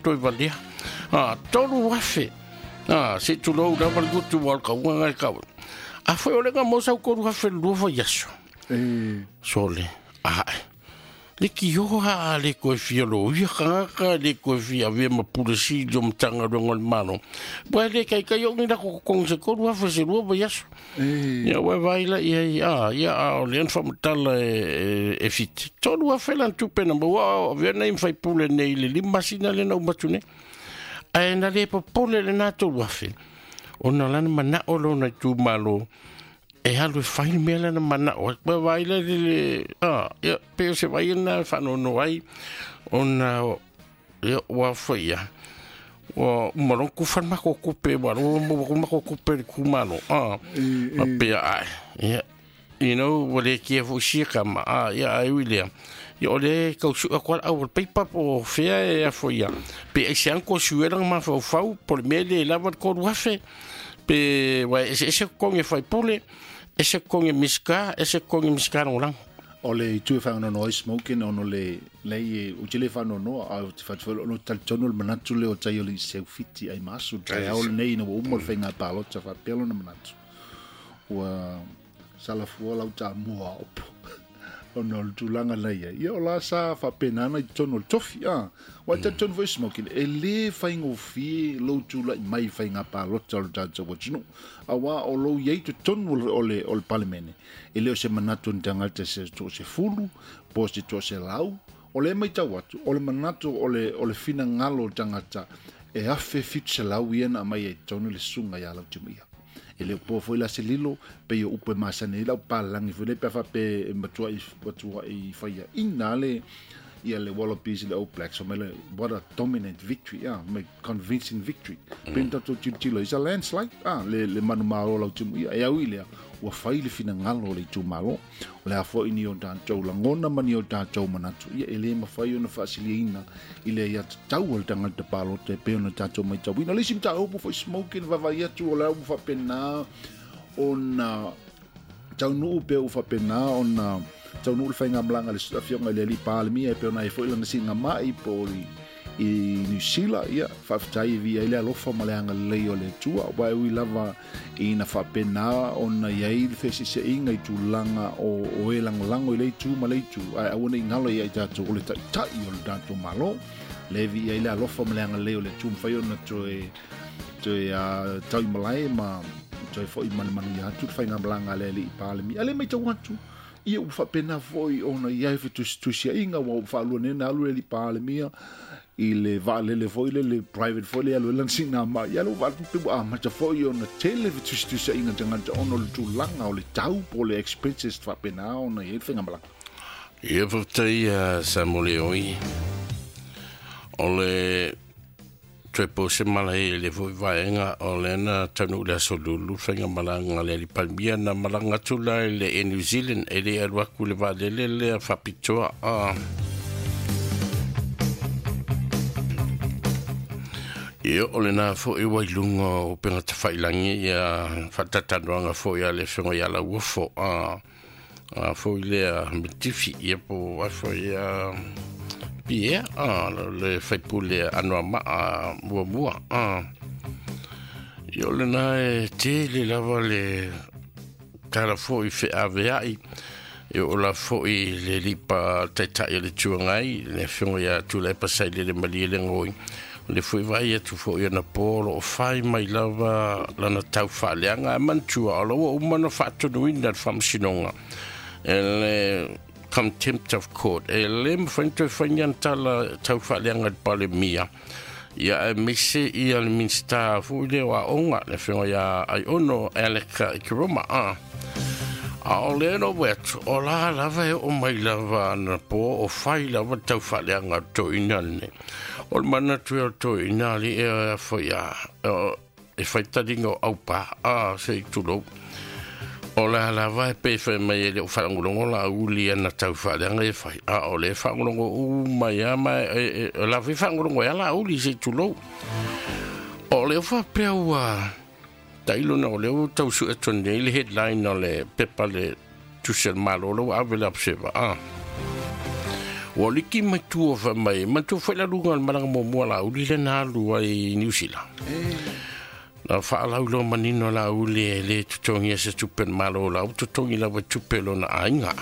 toe valea. 3,000. Se tulou lava le gutu wa ka unga ngai kau. A foi o le nga mo sau 3,000 lua fai aso. Sole. Le ki oha a le koe fia lo ia kangaka le koe fia avea ma pule sili o Matagaluega o le Malo. Ua le kaikai o ni lako kokogi se 3,000 se lua vaiaso. Ia ua vai la ia ia ia a o le ana faamatala e fiti. 3,000 lana tupe na maua o avea nei ma faipule nei le 5 masina lea na uma atu nei. Ae na le popole lena 3,000. Ona lana manao lona itumalo e alu e fai le mea lena manao ai. Ua vai le le ia pe o se vai na whanono ai ona ia ua foi ia. Ua umalong ku whan mako kupe wa ro mo ku mako kupe le kumalo. Ma pea ai. Ia you know ua le kia fo sia ka ma ia ai ui lea. Ia o le kau su kwa au paper po fea e afo ia. Pe ai se anko suela ma fau fau po le mea le lava le 3,000. Pe wa ese konge fai pule, ese konge miska, ese konge miska no lang. O le itu e whaanono ai smoking ono le lei o tele whaanono a te whatwhelo ono talitono le manatu le o tai o le seufiti ai masu tai au nei na ua umo le whainga palota whapelo na manatu. Ua salafua lau tā mua opo. Ono le tūlanga nei ai. Ia o la sa whapenana i tono le tofi. Wa talitono foi smoking. E le whaingofie lou tūlai mai whainga palota o le tātou watinu. A wā o lou iei te tonu o le palemene. E leo se manatu ni tangata se to se fulu, po se to se lau. O le mai tau atu, o le manatu o le fina ngalo tangata e afe fitu se lau ia na mai e tonu le sunga ia lau timu ia. E leo po foi la se lilo, pe i o upe masane i lau palangi foi le pe whape e matua i whaia ina le ia le Wallabies le All Blacks. So mele, what a dominant victory, me convincing victory. Pe tatou tilotilo, it's a landslide, le manu malo lau timu ia. E au i lea, ua fai le finagalo o le itumalo. O le a foi ni o tātou langona ma ni o tātou manatu. Ia e le mawhai ona whaasiliaina i le ia tatau o le tangata pālota e pe ona tātou mai tauina. Le isi mtāupu foi smoking vavai atu o le au whapena ona taunuu pe o whapena ona taunuu le whainga mlanga le afionga i le ali palemia e pe ona e foi lana singa mai po i New Zealand ia whaafetai via i le alofa ma le angalei o le tua wa e ui lava i na whapena ona iai le whesiseinga i tūlanga o e langolango i le itu ma le itu ai awana i ngalo ia i tātou o le taitai o le tātou malo le via i le alofa ma le angalei o le tua mwhai ona toe tau i malae ma toe foi manu ia atu le whainga malanga le ali i pālemi ale mai tau atu ia u whapena foi ona iai whetusia inga wa u whaalua nena alu le ali pālemia i le vaalele foi le private foi le alu e lansina ma ia lo vaaltu pe a mata foi ona tele fetusitusia inga tangata ona le tulaga o le tau po le expenses faapena ona i ai le faigamalaga. Ia faafetai Samuel o le toe po se malae le foi vaega o le na taunuu le aso lulu faigamalaga le ali Palemia na malaga atu la i le Air New Zealand e le alu aku le vaalele lea faapitoa Ia o le nā foi wai lunga o penga te whailangi ia whatatanoanga foi a le whenga ia la uafo a foi lea metifi ia po a foi a Pierre le whaipule anoa maa mua mua Ia o le nā e te le lava le tala foi wheaweai ia o la foi le lipa taitai o le tuangai le whenga ia tula e pasai le le malie le ngoi. Le foi vai atu foi ana polo o fai mai lava lana tau whaaleanga e mantua o laua umana whaatonuina le whamsinonga e le contempt of court e le mwhainto e whaingan tala tau whaaleanga le palemia ia e mise ia le minsta foi leo a onga le whenga ia ai ono Aleka i Kiroma a o le no wetu o la lava e o mai lava ana po o fai lava tau whaaleanga to ina ne. O le mana tui o toi ina li e a foi a e whaitaringa o aupa a se i tulou. O la lava e pe whai mai e le o whaangolongo la uli ana tau whaaleanga e whai. A o le whaangolongo u mai a mai e la whi whaangolongo e ala uli se i tulou. O le o whapea ua tailo na o le o tau su e tone le headline o le pepa le tusel malo lo ave le observer. Ua liki mai tua fai mai, manatua foi le aluga o le malaga muamua a Laauli lea na alu ai i Niu Sila. Na faalauiloa manino e Laauli e le totogia se tupe a le Malo, o la ua totogi lava i tupe a lona aiga.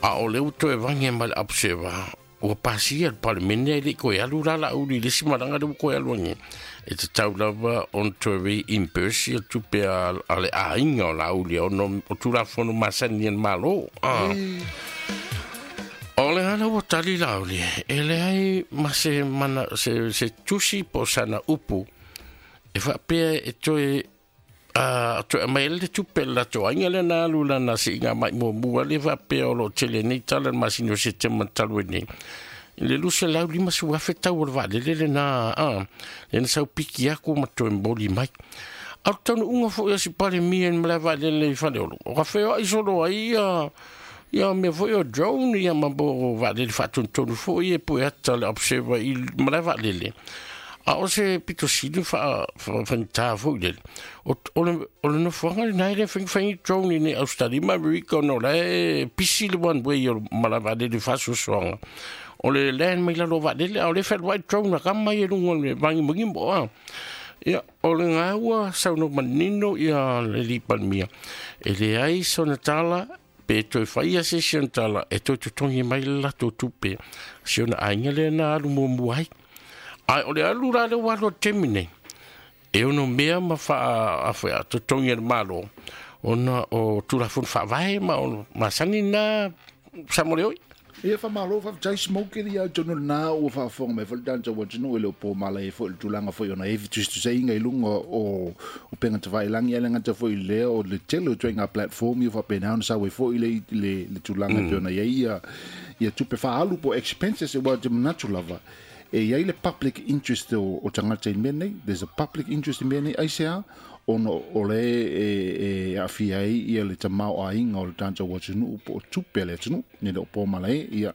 A o lea ua toe vage mai le observer, ua pasia e le Palemene ae le i toe alu la Laauli i le isi malaga lea ua toe alu ai nei. E tatau lava ona toe reimburse ia tupe a le aiga o Laauli ona o Tulafono masani a le Malo. O le ala ua tali Laauli, e leai ma se mana, se tusi po o sana upu e faapea e toe toe aumai ai le tupe a le latou aiga lea na alu lana siiga mai muamua lea faapea o lo o tele nei tala i le masina o Setema talu ai nei. I le 250,000 tau o le vaalele lena, lea na sau piki aku ma toe momoli mai. A o le taunuuga foi a si Palemia i le malae vaalele i Faleolo, o ka feoai solo ai ia ia mea foi o drone ia ma mo vaalele faatonutonu foi e pue ata le observer i malae vaalele. A o se pito sili faigata foi lele, o le nofoaga lena e le faigfaigi drone i nei Australia ma Amerika ona o la e pisi le one way o le malae vaalele i faasoasoaga. O le land mai lalo o vaalele, a o lea e fealuai drone a kama ia i luga o le vagimogimo. Ia, o le ga ua saunoa manino ia le alii Palemia, e leai sona tala pe toe faia se isi ona tala e toe totogi mai le latou tupe si ona aiga lea na alu muamua ai. Ae o le alu la lea ua alu a le taimi nei, e ono mea ma faa totogi e le Malo ona o Tulafono Faavae ma o masani na Samoleoi. Ia faamalo faafetai Smoke ia atonu lena ua faafofoga mai foi le tatou atunuu e le o po malae foi le tulaga foi ona e tusitusaina i luga o upega tafailagi ae le gata foi i lea o le tele o ituaiga platform ia faapena ona sau ai foi le le tulaga e pei ona i ai ia ia tupe faaalu po o expenses aua ou te manatu lava e i ai le public interest o tagata i le mea lenei there's a public interest i le mea lenei aisea ona o le e aafia ai ia le tamaoaiga o le tatou atunuu po o tupe a le atunuu e le o po malae ia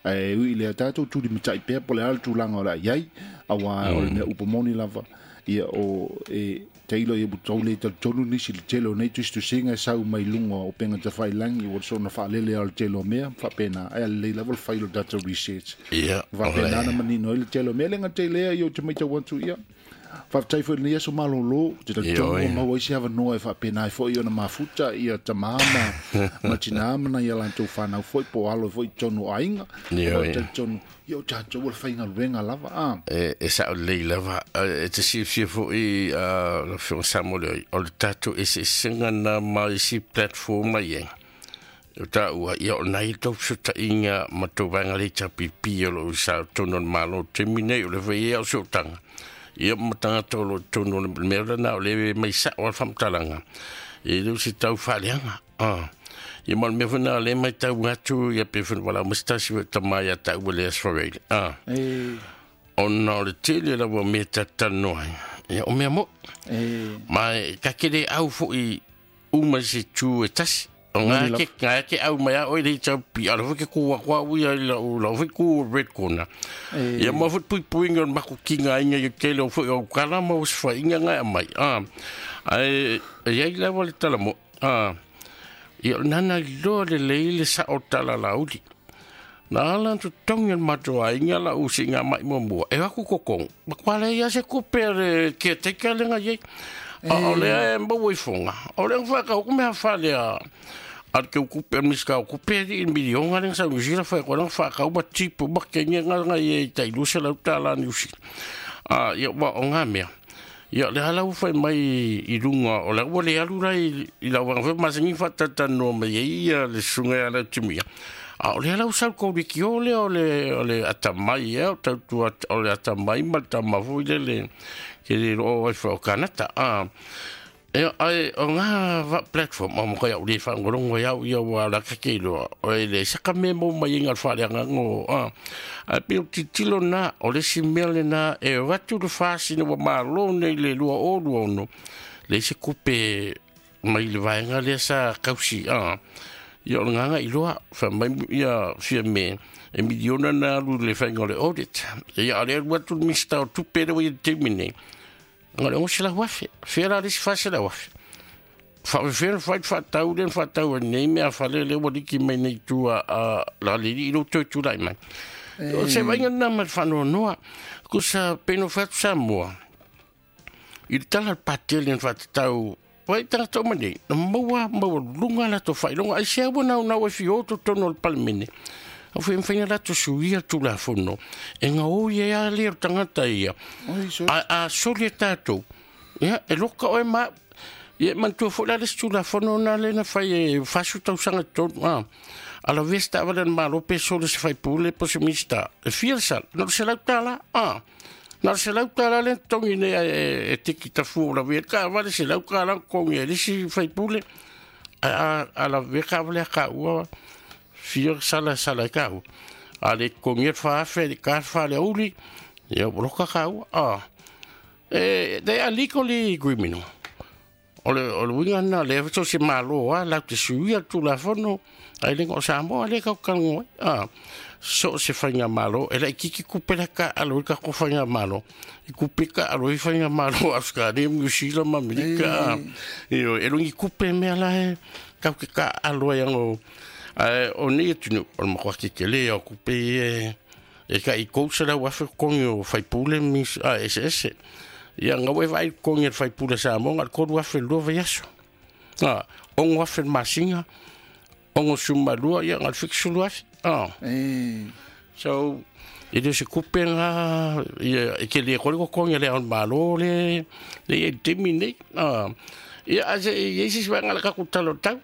ae ui i lea tatou tulimatai pea po o le a le tulaga o le a i ai auā o le mea upu moni lava ia o e tailo ia ua tau le talitonu nisi i le tele o nei tusitusiga e sau mai luga o upega tafailagi ua soona faalele lava o le tele o mea faapena ae lelei lava le fai o le tatou research faapena ona manino ai le tele o mea le gata i lea ia ou te matau atu ia Faafetai foi i lenei aso malolo, ou te talitonu ua maua ai se avanoa e faapena ai foi ona mafuta ia tama ma, ma tinā ma nai a latou fanau foi po o alo foi i totonu o aiga. Ioe. Ou te talitonu, ia o tatou o le faigaluega lava, a. E sao lelei lava. E te silafia foi, lau Afioga Samoeleoi, o le tatou eseesega na ma isi platform la i ai. O taua, ia o nai tou fesootaiga ma tou vaega le HRPP o lo o i totonu o le Malo i le taimi nei, o lea foi e i ai au sootaga, ia ma tagata o lo o i totonu o le mea lena, o lea e mai sao lava le faamatalaga, e le o se tau faaleaga. Ia ma o le mea foi lena o lea e matau atu, ia pei foi ona valaau mai se tasi o tama ia taua le Asfareid, ona o le tele lava o mea ta te talanoa ai, ia o mea moni. Ma e ta te le au foi uma i se tu e tasi. O ngā ke, ngā ke au mai a oe le tau pi, ala foi ke kua kua ui ai la u la foi ku red corner. Ia ma foi pui pui ngā maku ki ngā inga i tele o foi o kala ma o sfa inga ngā mai. Ai, e ai la wale tala mo. Ia nana i loa le lei le sa o tala la uli. Na ala tu tongi al mato a inga la u si ngā mai mua mua. E aku kokong. Ma kwa le ia se kupe le kia teka le ngā iei. A o lea e maua i fonga. O lea whae ka hoku mea whale a a te ukupe a miska o kupe i milionga le sa New Zealand whae koe whae ka uma tipu ma ke nge nga nga i tai lusa lau tāla New Zealand. A ia wa o ngā mea. Ia le hala whai mai i runga o le ua le alu rai i lau wanga whai masangi whatata no mai e ia le sunga ala timia. A o le ala usau kou le ki o le o le o le atamai e o tautua o le atamai ma le tama foi le le ke le o ai o Kanata a e ai o ngā va platform o mo kai au le whaangorongo i au ia wa la ka ke loa o e le saka me mo mai inga whare ngango a a pe o titilo na o le si mea le na e o atu le whasina wa malo nei le lua o lua ono le se kupe mai le vaega lea sa kausi a ia o le nganga i loa fa mai ia fia me e miliona na alu le whainga o le audit ia a le alu atu le Minista o Tupe le wai te taimi nei nga le 600,000 fia la le isi 400,000 Faafefea ona fai le faatau lea na faatau ai nei mea fale lea ua liki mai nei tua a la lili i lou toe tulai mai. O se vaaiga lena ma le faanoanoa. Kusa pei ona fai atu Samoa i le tala a le Pati lea na faatatau Vai tagata uma nei, na maua maualuluga latou faailoga. Aisea ua naunau ai fio totonu o le Palemene? Au fai mafai ona latou suia le Tulafono e gaoi ai lava lea o le tagata ia. A soli e tatou, ia, e loka oe ma au. Ia, e manatua foi la le isi Tulafono lena lea na fai e 40 tausaga i totonu, a. A lavea se taavale a le Malo pe soli e se faipule po o se Minisita, e fia le sala? Na o le $100, a. Na o le $100 lea na totogi nei ae e tiki tafua ua lavea ai le taavale, $100 na totogi ai e le isi faipule. Ae a lavea le taavale a taua, fia sala e sala ai taua. A le totogia le $4,000 e le i ta le 4 i le aoauli, ia ua loka taua. E, they are legally criminal. O le uiga lena, lea so o se Malo lava latou te suia le Tulafono, ae le o Samoa lea tatou te talanoa ai. So o se faigamalo, e laitiiti tupe la e taaalo ai le tatou faigamalo, i tupe e taaalo ai faigamalo a Ausetalia ma Niu Sila ma Amerika. Ioe, e le o ni tupe mea la e tatou te taaalo ai ano. Ae o nei atunuu, o le matua tetele lava o tupe ia e tai $300,000 totogi o faipule ma Minisita eseese. Ia, na ua e vaai i le totogi o le faipule a Samoa, na o le $3,000 i le lua vaiaso. A, $6,000 i le masina, 62, ia, na o le $70,000. A. So, e le o se tupe lena, ia, e tele atu ai le totogi a Le Ao o le Malo lea e i ai i le taimi lenei. A. Ia, ae se i i ai se isi vaega o le tatou Tala o le Tau?